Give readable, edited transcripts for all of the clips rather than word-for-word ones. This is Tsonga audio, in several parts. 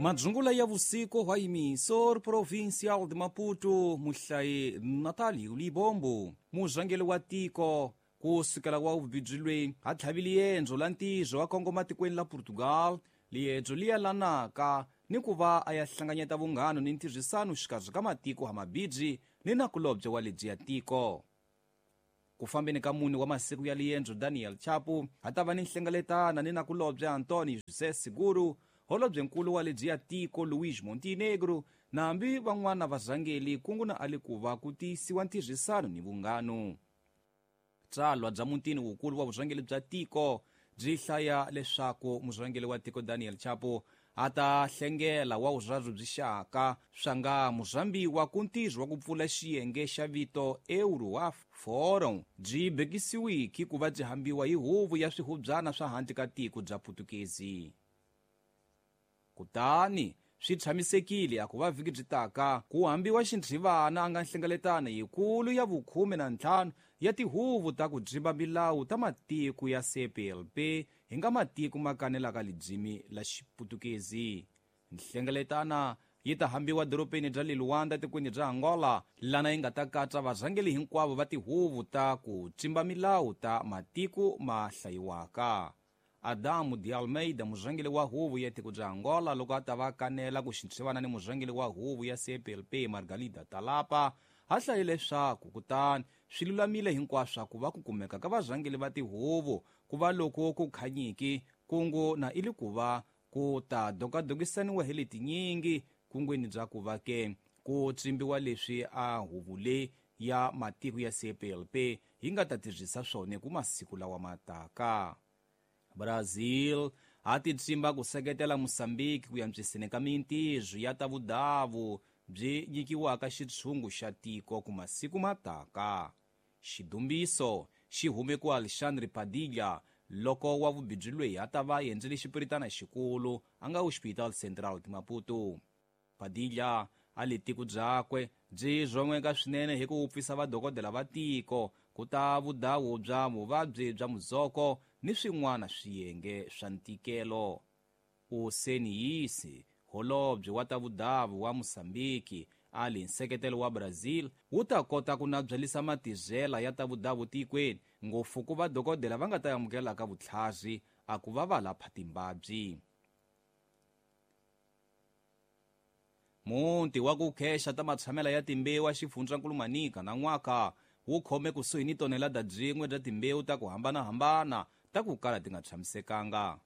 Madzungula ya vusiku hwa emissor provincial de Maputo muhlayi Natalio Libombo murhangeri wa tiko ku sukela wa vubijilweni ha tlhavile yendzo la ntirho wa kongoma tikweni la Portugal liendzo li yelanaka ni ku va a ya hlanganyeta vunghano ni ntirhisano xikarhi ka matiko ha mabidzi ni nakulobye wa lebyi ya tiko. Ku fambeni ka mune wa masiku ya liendzo Daniel Chapo ha ta va ni nhlengeletana ni nakulobye Antonio José Seguro holobyenkulu wa lebyi ya tiko Luís Montenegro na hambi van'wana varhangeli kungu na ali ku va ku tiyisiwa ntirhisano ni vunghano. Tsalwa bya mutini wukulu wa vurhangeri bya tiko byi hlaya leswaku murhangeri wa tiko Daniel Chapo a ta hlengela wa vurharhu byi xaka swa nga murhambiwa ku ntirho wa ku pfula xiyenge xa vito Euro Forum byi bekisiwiki ku va byi hambiwa hi huvo ya swihubyana swa handle ka tiko bya Putukezi. Kutani swi tshamisekile a ku va vhiki byi taka ku hambiwa xinthivana a nga nhlengeletano yikulu ya vukhume na ntlhanu ya tihuvo ta ku dzimba milawu ta matiko ya CPLP hi nga matiko ma kanelaka lidzimi la Xiputukezi. Nhlengeletana yi ta hambiwa doropeni bya le Luanda tikweni bya Angola lana yi nga ta katsa varhangeri hinkwavo va tihuvo ta ku tsimba milawu ta matiko ma hlayiwaka. Adamu de Almeida murhangeri wa huvo ya tiko bya Angola loko a ta va kanela ku xinthivana ni murhangeri wa huvo ya CPLP Margarida Talapa ha hlaye leswaku kutani swi lulamile hinkwaswo ku va ku kumeka ka varhangeri va tihuvo ku va loko ku khanyiki kungu na ili ku va ku ta dokadokisaniwa hi letinyingi kungwini bya ku va ke ku tsimbiwa leswi a huvo leyi ya matiko ya CPLP yi nga ta tirhisa swona ku masiku lawa mataka. Brazil ha ti tsimba ku seketela Mozambique ku antswiseni ka mintirho ya ta vudavu byi nyikiwaka xitshungu xa tiko ku masiku mataka. Xidumbiso xi hume ku Alexandre Padilha loko wa vubidzi loyi a ta va endzele xipiritana xikulu a nga Hospital Central de Maputo. Padilha a le tiko byakwe byi rhomeka swinene hi ku wupfisa vadokodela va tiko ku ta vudawu bya vuvabyi bya muzoko ni swin'wana swiyenge swa ntikelo. Useniyisi holobye wa ta vudavu wa Mozambique a li nseketelo wa Brazil wu ta kota ku nabyalisa matizela ya ta vudavu tikweni ngopfu ku vadokodela va nga ta amukelaka vutlhari a ku va va lapha timbabyi. Muti wa ku khexa ta matshamela ya timbewu a xifundzankulu Manica na n'waka wu khome kusuhi ni tonelada byin'we bya timbewu ta ku hambanahambana ta ku kala ti nga tshamisekanga.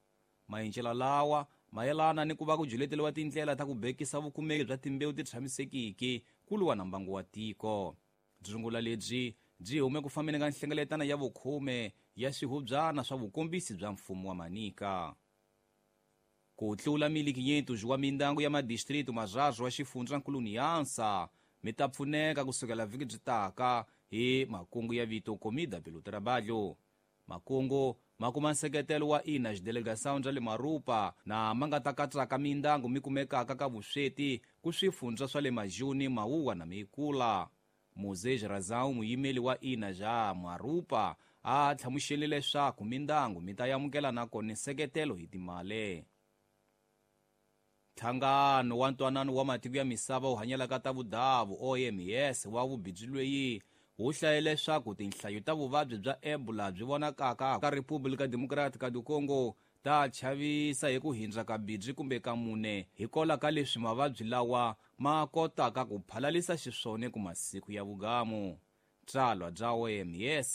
Maendlelo lawa mayelana ni ku va ku juleteriwa tindlela ta ku bekisa vukumeki bya timbewu ti tshamisekiki ku lwa na mbangu wa tiko. Dzungula lebyi byi hume ku fambeni ka nhlengeletano ya vukhume ya swihubyana swa vukombisi bya mfumo wa Manica. Ku tlula 1500 wa mindyangu ya madistritu marharhu wa xifundzankulu Niansa mi ta pfuneka kusukela vhiki byi taka hi makungu ya vito Comida pelo Trabalho. Makungu ma kuma nseketelo wa ina xidelegação bya le Marupa na ma nga ta katsaka mindyangu mi kumekaka ka vusweti ku swifundza swa le Majuni, Mauwa na Meikula. Moses Razão muyimeli wa ina ja Marupa a hlamusele leswaku mindyangu mi ta amukela nakona nseketelo hi timali. Nhlangano wa ntwanano wa matiko ya misava wu hanyelaka ta vudavu OMS wa vubidzi loyi wu hlaye leswaku tinhlayo ta vuvabyi bya Ebola byi vonakaka ka República Democrática do Congo ta chavisa hi ku hindza ka bidzi kumbe ka mune hikola ka leswi mavabyi lawa ma kotaka ku phalalisa xiswona ku masiku ya vugamu. Tsalwa bya OMS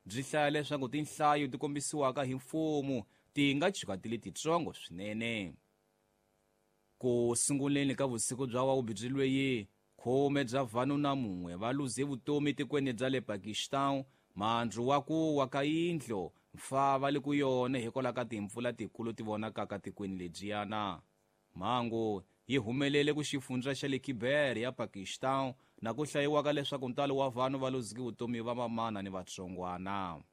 byi hlaya leswaku tinhlayo ti kombisiwaka hi mfumo ti nga chuka ti le titsongo swinene. Ku sunguleni ka vusiku bya wa vubidzi loyi khume bya vanhu na mun'we va luze vutomi tikweni bya le Pakistan mandzu wa ku wa ka yindlu mfa va le ku yona hikwalaho ka timpfula tikulu ti vonakaka tikweni lebyiyana. Mhangu yi humelele ku xifundza xa le Khyber ya Pakistan na ku hlayiwaka leswaku ntalo wa vanhu va luzeke vutomi va mamana ni vatsongwana.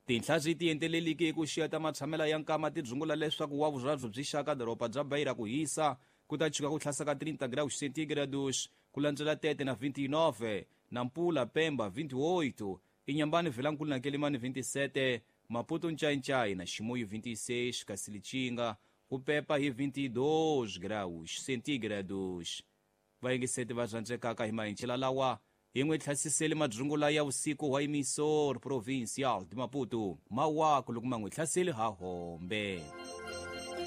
Tinhla byi tienteleliki hi ku xiya ta matshamela ya nkama ti dzungula leswaku wa vurharhu byi xaka doroba bya Beira ku hisa ku ta chuka ku tlhasa ka 30 graus centígrados ku landzela Tete na 29 Nampula Pemba 28 Inhambane Vilankulu na Quelimane 27 Maputo Ncaincaí na Chimoio 26 kasi Lichinga Ku pepa hi 22 graus centígrados. Vayingiseti va rhandzekaka hi mahincela lawa hi n'wi tlhasisele madzungula ya vusiku wa emissor provincial de Maputo. Mawaku loko ma n'wi hlaseli ha hombe.